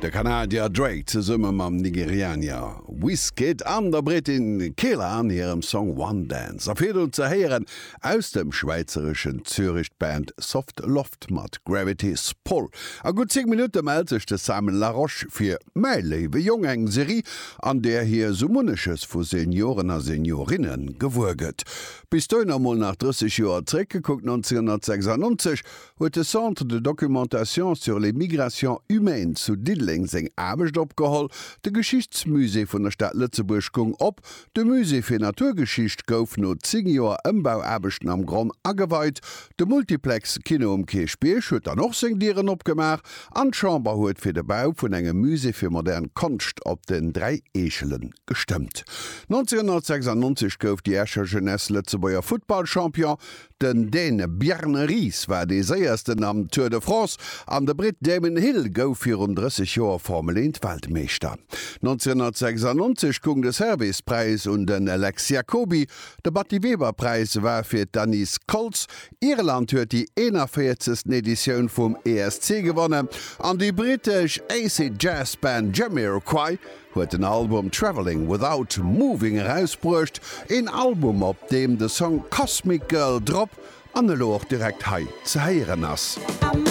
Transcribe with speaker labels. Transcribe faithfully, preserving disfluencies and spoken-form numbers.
Speaker 1: De Kanadier Drake zesumme mam Nigerianer Wizkid an der Britin Kelela an hirem Song One Dance. A virdrun ze héieren aus dem schwäizereschen Zürich d'Band Soft Loft mat Gravity's Pull. A gutt zéng Minutte mellt sech de Simon Larosche fir Mäi léiwe Jong, eng Serie, an där hie sou munneches vu Senioren a Seniorinne gewuer gëtt. Bis dohinner mol nach drësseg Joer zréckgekuckt, nonzénghonnertsechsannonzeg huet de Centre de documentation sur les migrations humaines zu Diddeleng seng Aarbecht opgeholl, de Geschichtsmusée vun der Stad Lëtzebuerg goung op, de Musée fir Naturgeschicht gouf no zéng Joer Ëmbauaarbechten am Gronn ageweit, de Multiplex Kino um Kierchbierg huet dann och seng Dieren opgemaach an d'Chamber huet fir de Bau vun engem Musée fir modern Konscht op den Dräi Eechele gestëmmt. nonzénghonnertsechsannonzeg gouf déi Escher Jeunesse Lëtzebuerger Futtballchampion, den Dän Bjarne Riis war dee séiersten am Tour de France an de Britt Damon Hill gouf virun drësseg Joer Formel eent Weltmeeschter. nonzénghonnertsechsannonzeg goung de Servais-Präis un den Lex Jacoby, de Batty Weber-Präis war fir d'Anise Koltz, Irland huet déi eenanvéierzegsten Editioun vum E S C gewonnen an déi brittesch Acid Jazz Band Jamiroquai huet den Album Traveling Without Moving erausbruecht, een Album op deem de Song Cosmic Girl drop an elo och direkt hei ze héieren ass.
Speaker 2: I'm